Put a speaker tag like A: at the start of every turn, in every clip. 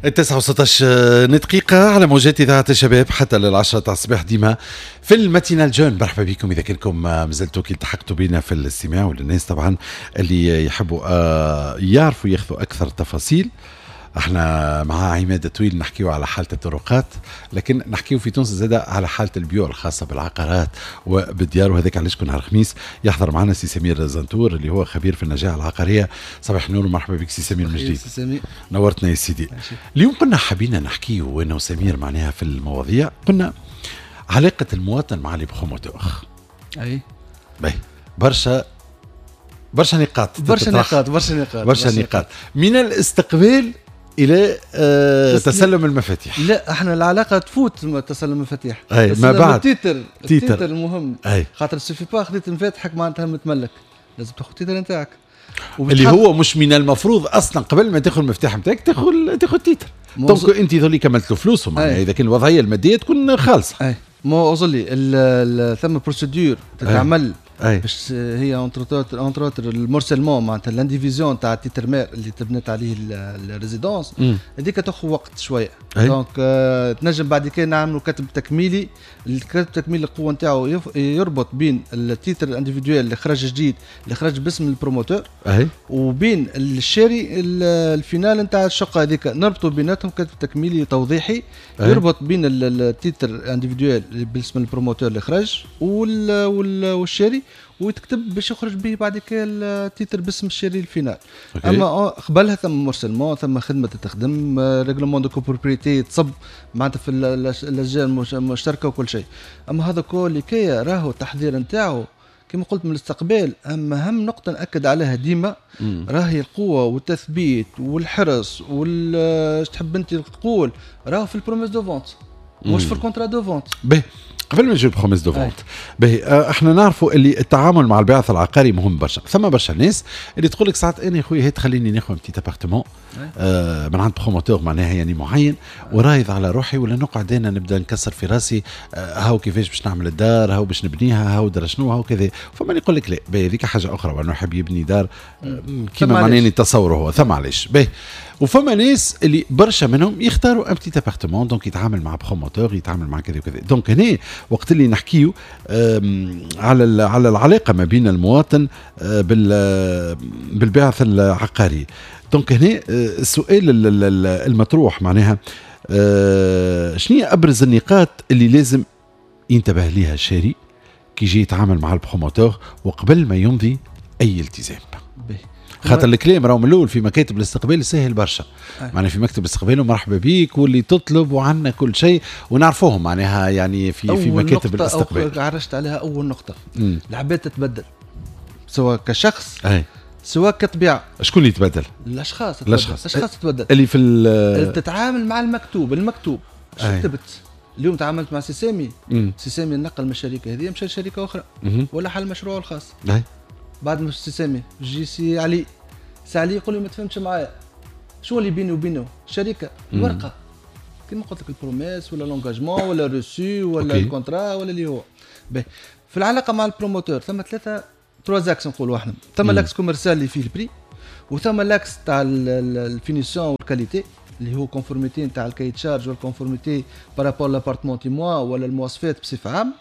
A: 9 و16 دقيقة على موجات إذاعة الشباب حتى لل10 تاع الصباح ديما في ال matinale jeune. مرحبا بكم إذا كنكم مازلتوا كي التحقتوا بنا في الاستماع، وللناس طبعا اللي يحبوا يعرفوا ياخذوا أكثر تفاصيل. احنا مع عماد طويل نحكيو على حالة الطرقات، لكن نحكيو في تونس زادة على حالة البيوع الخاصة بالعقارات وبالديار، وهذاك علاش كل نهار خميس يحضر معنا سي سمير زنتور اللي هو خبير في النجاعة العقارية. صباح النور ومرحبا بك سي سمير من جديد.
B: سي سمير.
A: نورتنا يا سيدي. اليوم كنا حبينا نحكيو وانا وسمير معناها في المواضيع، قلنا علاقة المواطن مع les promoteurs. باهي، برشا برشا نقاط.
B: برشا نقاط، برشا نقاط.
A: برشا نقاط، من الاستقبال الى تسلم المفاتيح.
B: لا، احنا العلاقة تفوت تسلم المفاتيح.
A: أي، ما بعد.
B: ال titre، ال titre المهم. خاطر suffit pas خذيت مفاتحك معناتها متملك، لازم تاخذ ال titre نتاعك.
A: اللي هو مش من المفروض اصلا قبل ما تاخذ المفتاح نتاعك تاخذ titre؟ donc انت ذولي كملت له فلوسه معناها اذا كان الوضعية المادية تكون خالصه.
B: اي، ما اظلي ثم procédure تتعمل باش هي entre autres ال morcellement، معناتها l'indivision تاع titre mère اللي تبنت عليه ال résidence هذيك تاخذ وقت شويه. donc تنجم بعد كده نعملوا كتب تكميلي. الكتب التكميلي القوة نتاعو يربط بين ال titre individuel اللي خرج جديد، اللي خرج باسم ال promoteur، وبين الشاري ال final نتاع الشقة هذيك. نربطوا بيناتهم كتب تكميلي توضيحي يربط بين ال titre individuel باسم ال promoteur اللي خرج والشاري، ويتكتب باش يخرج به بعد كده ال titre باسم الشاري ال final. اما قبلها ثم morcellement، ثم خدمة تخدم règlement de copropriété تصب معناتها في اللجان المشتركة وكل شيء. اما هذا كل كي راهو التحضير نتاعو كما قلت من الاستقبال. اما اهم نقطة ناكد عليها ديما راهي القوة والتثبيت والحرص وال تحب انت تقول راهو في ال promesse de vente مش في ال contrat de vente.
A: باهي، قبل ما نجيب promesse de vente، باهي، احنا نعرفوا اللي التعامل مع الباعث العقاري مهم برشا. ثم برشا ناس اللي تقول لك ساعات انا يا خويا هات خليني ناخذ petit appartement من عند promoteur معناها يعني معين ورايض على روحي، ولا نقعد انا نبدا نكسر في راسي هاو كيفاش باش نعمل الدار، هاو باش نبنيها، هاو درا شنو، هاو كذا. فما اللي يقول لك لا، باهي، هذيك حاجة اخرى، وانه يحب يبني دار كيما معناها يتصوره هو، ثم علاش. باهي، وفما ناس اللي برشا منهم يختاروا un petit appartement، donc يتعامل مع promoteur، يتعامل مع كذا وكذا. donc هنا وقت اللي نحكيو على العلاقة ما بين المواطن بالباعث العقاري، donc هنا السؤال المطروح معناها شنو هي ابرز النقاط اللي لازم ينتبه ليها الشاري كي يجي يتعامل مع ال promoteur وقبل ما يمضي اي التزام؟ خاطر الكلام راهو من الاول في مكاتب الاستقبال سهل برشا. معناها في مكتب الاستقبال ومرحبا بيك واللي تطلب وعندنا كل شيء ونعرفوهم معناها يعني في مكاتب الاستقبال.
B: عرجت عليها اول نقطه. العباد تتبدل سواء كشخص سواء كطبيعه.
A: شكون اللي يتبدل؟
B: الاشخاص.
A: الاشخاص.
B: الاشخاص تتبدل.
A: اللي في
B: اللي تتعامل مع المكتوب. المكتوب شو كتبت اليوم؟ تعاملت مع سي سامي. سي سامي نقل من الشركة هذه مشى لشركة اخرى ولا حل مشروعه الخاص. بعد ما سي سامي جي سي علي، سي علي يقول لي ما تفهمش معايا. شو اللي بيني وبينه؟ شركه، الورقة كما قلت لك، ال promesse ولا l'engagement ولا reçu ولا ال contrat ولا اللي هو. باهي، في العلاقة مع ال promoteur ثم ثلاثه، trois axes نقولوا احنا. ثم l'axe commercial اللي فيه ال prix، وثم l'axe تاع ال finition وال qualité اللي هو conformité نتاع ال cahier des charges وال conformité par rapport l'appartement témoin ولا المواصفات بصفة عامه،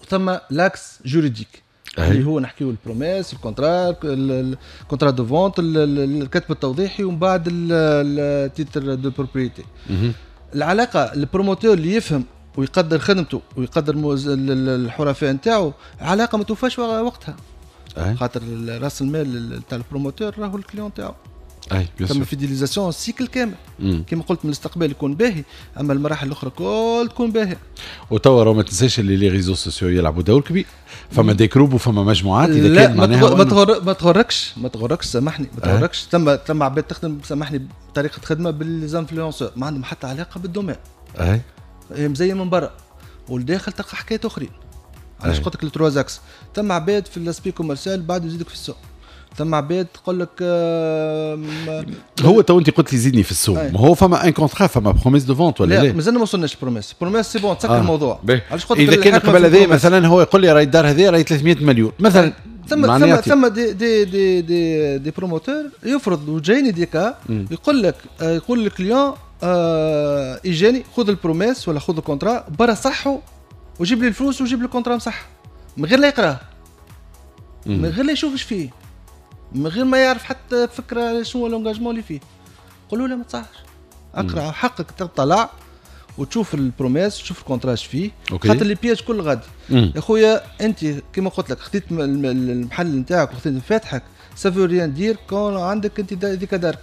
B: وثم l'axe juridique اللي هو نحكيو ال promesse، ال contrat، ال contrat de vente، الكتب التوضيحي، ومن بعد ال titre de propriété. العلاقة ال promoteur اللي يفهم ويقدر خدمته ويقدر الحرفاء نتاعو، علاقة ما توفاش وقتها. خاطر راس المال تاع ال promoteur راهو ال client تاعو.
A: اي
B: ثم fidélisation cycle كامل. كما قلت من الاستقبال يكون باهي، اما المراحل الاخرى كل تكون باهيه.
A: وتوا ما تنساش اللي les réseaux sociaux يلعبوا دور كبير، فما des groupes وفما مجموعات
B: اذا كان معناها ما تغركش، ما تغركش، سامحني، ما تغركش. ثم عباد تخدم، سامحني، بطريقة خدمة بال les influenceurs ما عندهم حتى علاقة بال domaine. مزين من برا والداخل تلقى حكايات اخرين. علاش قلت لك ال trois axes؟ ثم عباد في l'aspect commercial بعد يزيدك في السوق، ثم عباد تقول لك
A: هو تو انت قلت لي زيدني في السوق، ما هو فما un contrat، فما promesse de vente ولا؟
B: لا، مازلنا ما وصلناش promesse. promesse c'est bon، تسكر الموضوع.
A: علاش قلت اذا كان قبل هذا مثلا هو يقول لي راهي الدار هذه راهي 300 مليون مثلا.
B: ثم des promoteurs يفرض، وجايني des cas، يقول لك، يقول لل client ايجاني خذ ال promesse ولا خذ ال contrat برا صحة وجيب لي الفلوس وجيب لي ال contrat مصح، من غير لا يقراه، من غير لا يشوف ايش فيه، من غير ما يعرف حتى فكرة شنو l'engagement اللي فيه. قولوا له ما تصحش، اقرا حقك تطلع وتشوف ال promesse وتشوف ال contrat اش فيه، خاطر les pièges كل غادي. يا خويا انت كيما قلت لك خذيت المحل نتاعك وخذيت مفاتحك، ça veut rien dire كون عندك انت ديك دارك.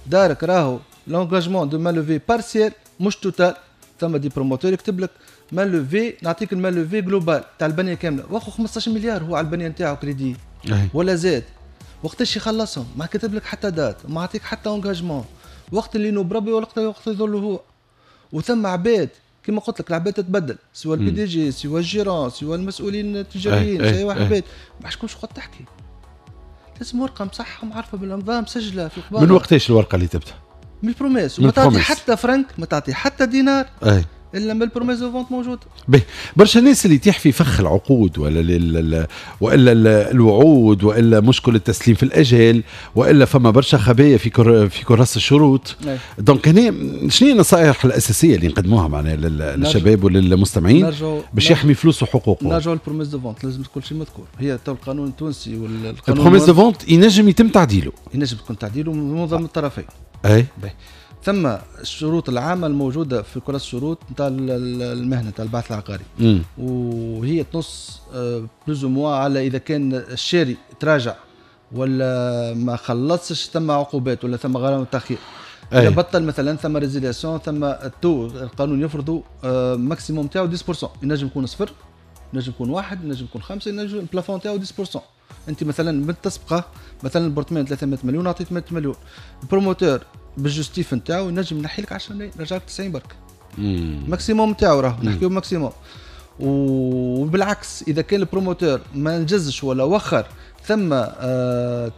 B: دارك راهو l'engagement de mainlevée partielle مش totale. ثم des promoteurs يكتب لك mainlevée، نعطيك ال mainlevée globale تاع البنية كاملة، واخو 15 مليار هو على البنية نتاعو كريدي ولا زاد، وقتاش يخلصهم؟ ما كتب لك حتى date، ما عطيك حتى engagement، وقت اللي ينوب ربي ولا وقت يظل هو. وثم عباد كما قلت لك العباد تتبدل، سواء ال PDG سواء ال gérant سواء المسؤولين التجاريين، سواء عباد ما عادش تقعد تحكي. لازم ورقة مصحه معرفة بالامضاء مسجله في
A: القباله. من وقتاش الورقة اللي تبدا؟
B: من ال promesse، وما تعطي حتى فرنك، ما تعطي حتى دينار الا ما ال promesse de vente موجود.
A: باهي، برشا ناس اللي يطيح في فخ العقود ولا والا الوعود والا مشكل التسليم في الاجال والا فما برشا خبايا في كراس الشروط. donc هنا شنو هي النصائح الاساسية اللي نقدموها معنا للشباب وللمستمعين باش يحمي فلوسه وحقوقه؟
B: نرجعوا لل promesse de vente، لازم كل شيء مذكور. هي تو القانون التونسي
A: والقانون ال promesse de vente ينجم يتم تعديله،
B: ينجم يكون تعديله من معظم الطرفين.
A: اي
B: ثم الشروط العامة الموجودة في كراس الشروط نتاع المهنة نتاع البعث العقاري، وهي تنص plus ou moins على اذا كان الشاري تراجع ولا ما خلصش ثم عقوبات ولا ثم غرامة تاخير. اذا بطل مثلا ثم résiliation، ثم ال taux القانون يفرضوا maximum تاعو 10%، ينجم يكون صفر، ينجم يكون واحد، ينجم يكون خمسة، ينجم ال plafond تاعو 10%. انت مثلا بالتسبقه مثلا l'appartement 300 مليون عطيت 100 مليون، ال promoteur بال justif نتاعو ينجم ينحي لك 10 ملايين، يرجع لك 90 برك. maximum نتاعو راهو نحكيو maximum. وبالعكس اذا كان ال promoteur ما نجزش ولا وخر ثم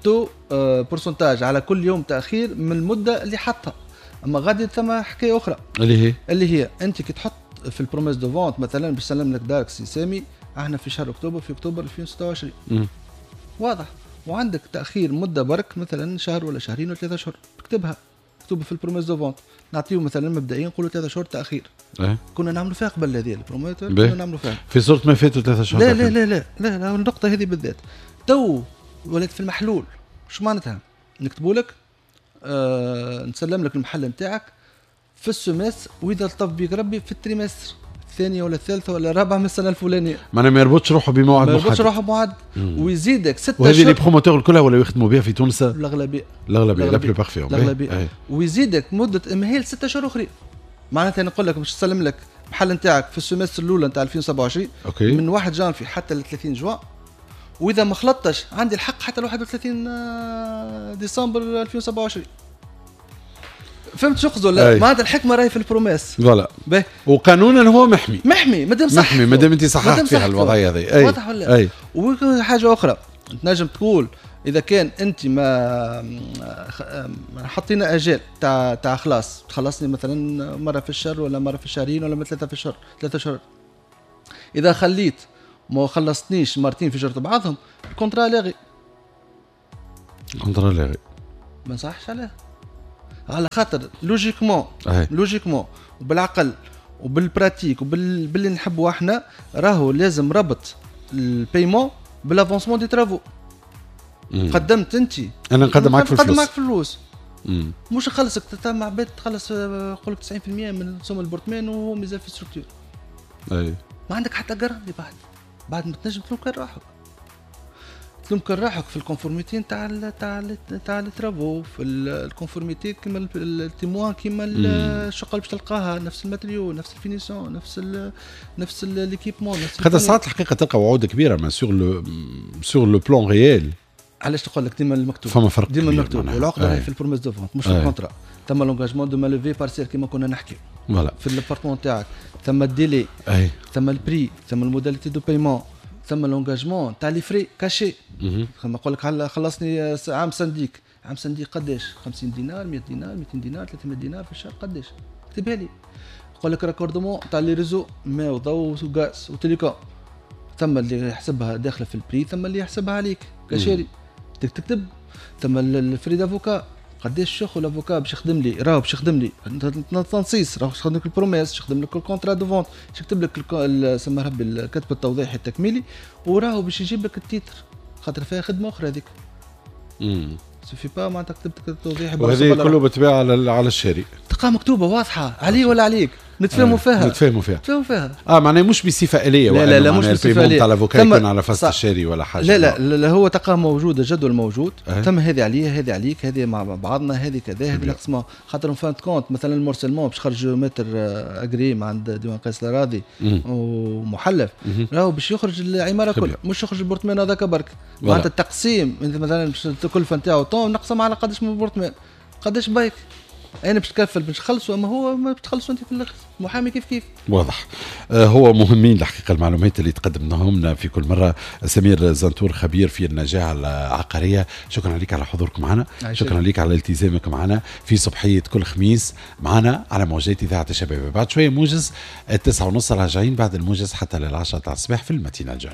B: taux pourcentage على كل يوم تاخير من المدة اللي حطها. اما غادي ثم حكاية اخرى اللي هي انت كي تحط في ال promesse de vente مثلا باش نسلم لك دارك سي سامي احنا في شهر اكتوبر، في اكتوبر 2026. واضح، وعندك تاخير مده برك مثلا شهر ولا شهرين ولا 3 اشهر، اكتبها مكتوبة في ال promesse de vente. نعطيو مثلا مبدئيا نقولوا 3 شهور تاخير. كنا نعملوا فيها قبل هذه ال promoteur، كنا نعملوا فيها
A: في صورة ما فاتوا 3 شهور.
B: لا لا لا لا لا, لا النقطة هذه بالذات تو ولات في المحلول. شو معناتها؟ نكتبوا لك نسلم لك المحل نتاعك في ال semestre، واذا لطف بيك ربي في ال trimestre الثانية ولا الثالثة ولا الرابعة من السنة الفلانية.
A: معناها ما يربطش روحه بموعد
B: محدد. ما يربطش روحه بموعد ويزيدك 6 اشهر.
A: وهذه les promoteurs الكلها ولا يخدموا بها في تونس؟
B: الاغلبية
A: الاغلبية la plupart فيهم.
B: الاغلبية. ويزيدك مده امهال 6 اشهر اخرين. معناتها نقول لك باش تسلم لك المحل نتاعك في ال semestre الاولى نتاع 2027
A: okay.
B: من 1 جانفي حتى ل 30 جوان، واذا ما خلطتش عندي الحق حتى ل 31 ديسمبر 2027. فهمت شو قصدي ولا؟ معناتها الحكمة راهي في ال promesse.
A: voilà. وقانونا هو محمي.
B: محمي مادام صح.
A: محمي مادام انت صححت فيها الوضعية هذه.
B: واضح ولا؟ وحاجه اخرى تنجم تقول اذا كان انت ما حطينا اجال تاع خلاص تخلصني مثلا مرة في الشهر ولا مرة في الشهرين ولا 3 في الشهر، 3 شهور. اذا خليت ما خلصتنيش مرتين في جرة بعضهم ال contrat لاغي.
A: ال contrat لاغي.
B: ما نصحش عليه. على خاطر logiquement logiquement وبالعقل وبال pratique وباللي نحبوا احنا راهو لازم ربط ال paiement بال avancement des travaux. قدمت انت،
A: انا نقدم معك في الفلوس،
B: نقدم معك في الفلوس. مش نخلصك مع عباد تخلص نقول لك 90% من سوم ال appartement وهو مازال في structure.
A: اي
B: ما عندك حتى garantie بعد ما تنجم تلوم كان روحك، تلوم كان روحك في ال conformité نتاع les travaux، في ال conformité كيما ال témoin كيما الشقة اللي باش تلقاها نفس ال matériau نفس ال finition نفس l'équipement.
A: خاطر ساعات الحقيقة تلقى وعود كبيرة ما sur le plan réel.
B: علاش تقول لك ديما المكتوب
A: فما فرق
B: ديما المكتوب والعقده هي في ال promesse de vente مش في ال contrat. ثم l'engagement de mainlevée partielle كيما كنا نحكي
A: voilà
B: في l'appartement تاعك، ثم ال délai، ثم ال prix، ثم ال modalité de paiement، ثم l'engagement تاع les frais cachés. ثم نقول لك خلصني عام syndic، عام syndic قداش؟ 50 دينار، 100 دينار، 200 دينار، 300 دينار في الشهر قداش؟ اكتبها لي. نقول لك raccordement تاع les réseaux ماء وضوء وغاز و télécom، ثم اللي يحسبها داخله في ال prix، ثم اللي يحسبها عليك كشاري تكتب، ثم ال frais d'avocat، قداش ياخذ l'avocat باش يخدم لي، راهو باش يخدم لي تنصيص، راهو باش يخدم لك ال promesse، باش يخدم لك ال contrat de vente، باش يكتب لك سما ربي الكتب التوضيحي التكميلي، وراهو باش يجيب لك ال titre خاطر فيها خدمة اخرى هذيك. suffit pas معناتها كتبت التوضيح.
A: وهذه كله بالطبيعة على الشاري.
B: تلقاها مكتوبة واضحه، علي ولا عليك، نتفاهموا فيها.
A: نتفاهموا فيها،
B: نتفاهموا فيها.
A: معناها مش بصفة اليه.
B: لا لا لا، مش بصفة اليه.
A: تاع l'avocat يكون على فاست الشاري ولا حاجه.
B: لا لا لا، هو تلقاه موجود، الجدول موجود. ثم هذه عليا، هذه عليك، هذه مع بعضنا، هذه كذا، هذه نقسمها خاطر fin de compte مثلا ال morcellement باش خرج maître agréé عند ديوان قيس الاراضي ومحلف، راهو باش يخرج العمارة كل، مش يخرج ال appartement هذاك برك. معناتها التقسيم انت مثلا باش الكلفة نتاعو طون نقسم على قداش من appartement، قداش بايك انا باش تكفل باش تخلصوا، اما هو ما بتخلصوا انت في الاخر، محامي كيف كيف.
A: واضح. هو مهمين الحقيقة المعلومات اللي تقدمناهم لنا في كل مره. سمير زنتور خبير في النجاعه العقاريه، شكرا لك على حضورك معنا، شكرا لك على التزامك معنا في صبحيه كل خميس معنا على موجات اذاعة الشباب. بعد شوية موجز 9:30، راجعين بعد الموجز حتى لل10 تاع الصباح في ال matinale الجنة.